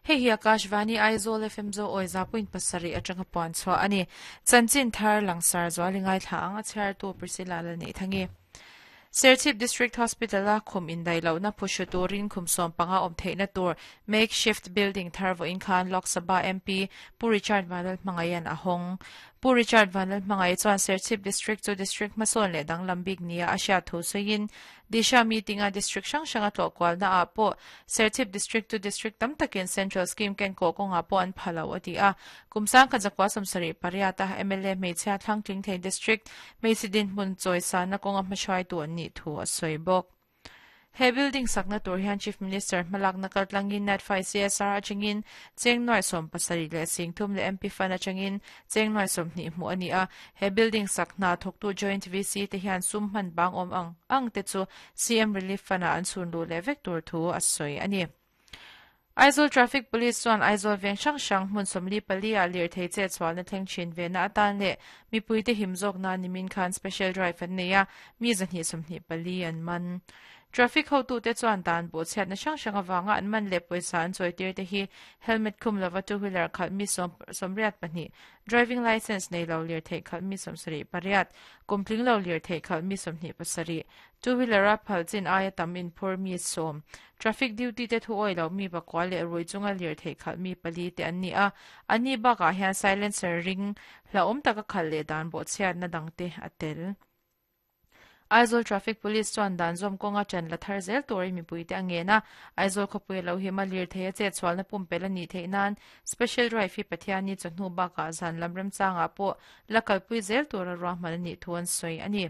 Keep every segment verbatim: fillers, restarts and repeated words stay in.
Hei hi Akashvani Aizawl F M zo awi za point pasarih atanga puan chhuah ani. Chanchin thar langsar zualingai thla ang a chhiar tu Priscilla la nei thangi. Serchhip District Hospital a khum indai lo na phushu turin khum som panga om theihna tur makeshift building thar vo in khan Lok Sabha M P Pu Richard Vanlal Hmangayan a hawng. Pu Richard Vanlal Hmangai chuan Serchhip District chu district hmasawn leh danglam bik nia a hriat thu sawiin Disha meeting a district hrang hrang a tlawh kualna ah pawh Serchhip District chu district tam takin Central Scheme ken kawh kawngah pawh an phalo a ti a. Kumsang kha zakwa sawmsarih pariat a M L A hmeichhia thlangtling thei district hmeichhe dinhmun chawisa na kawnga hmahruai tu an nih thu a sawi bawk. He building sakna tur hian Chief Minister hmalak na kaltlangin Natfai C S R atangin cheng nuai sawm pasarih leh singthum leh M P Fund atangin cheng nuai sawm hnih hmuh ani a. He building sakna thawktu Joint V C te hian sum hman bang awm ang ang te chu C M Relief Fund a an chhun lu leh vek tur thu a sawi ani. Aizawl Traffic Police chuan Aizawl veng hrang hrang hmun sawmli pali a lir thei che chuan na thleng thin ve na atan leh mipui te him zawk na nimin khan special drive an nei a mi zahnih sawmhnih pali an man. Traffic ho tu te chuan dan bo chhiat na hrang hrang awanga an man leh pawisa an chawi tir te hi helmet khum lova two wheeler khalh mi sawm sawmriat pahnih driving license nei lo lir thei khalh mi sawmsarih pariat kumtling lo lir thei khalh mi sawmhnih pasarih two wheeler a phal chin aia tam in phur mi sawm traffic duty te thu oi lo mi pakwa leh rui chunga lir thei khalh mi pali te an ni a ani bakah hian silencer ring hla awm taka khalh leh dan bo chhiat na dang te a tel. Aizawl Traffic Police chuan dan zawm kawnga ṭan la thar zel tur mipui te ange na Aizawl khawpui lo hi ma lir thei a che chhual na pumpel ani theih nan special drive hi Pathiani chawhnu bakah zan lam remchangah pawh la kalpui zel tur a ruahman ani thu an sawi ani.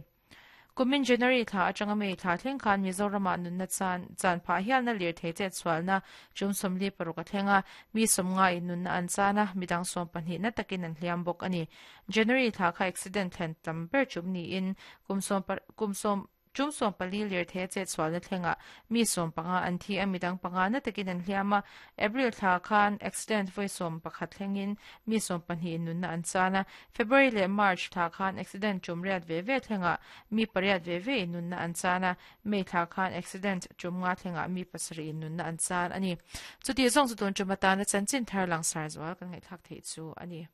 Kumin January thla atanga May thla thleng khan Mizorama nunna chan chan phah hial na lir thei che chhual na chum sawmli paruk a thlenga mi sawmnga in nunna an chana midang sawm pahnih na takin an hliam bawk ani. January thla kha accident thlen tam ber chum ni in kum sawm kum sawm chum sawm pali lir thei che chhual na thlenga mi sawm panga an thi a midang panga na takin an hliam a. April thla khan accident voi sawm pakhat thlengin mi sawm pahnih nunna an chana. February leh March thla khan accident chum riat ve ve thlenga mi pariat ve ve nunna an chana. May thla khan accident chum nga thlenga mi pasarih nunna an chan ani. Chuti zawng chu tun chumata na chanchin thar langsar zual kan ngaih thlak thei chu ani.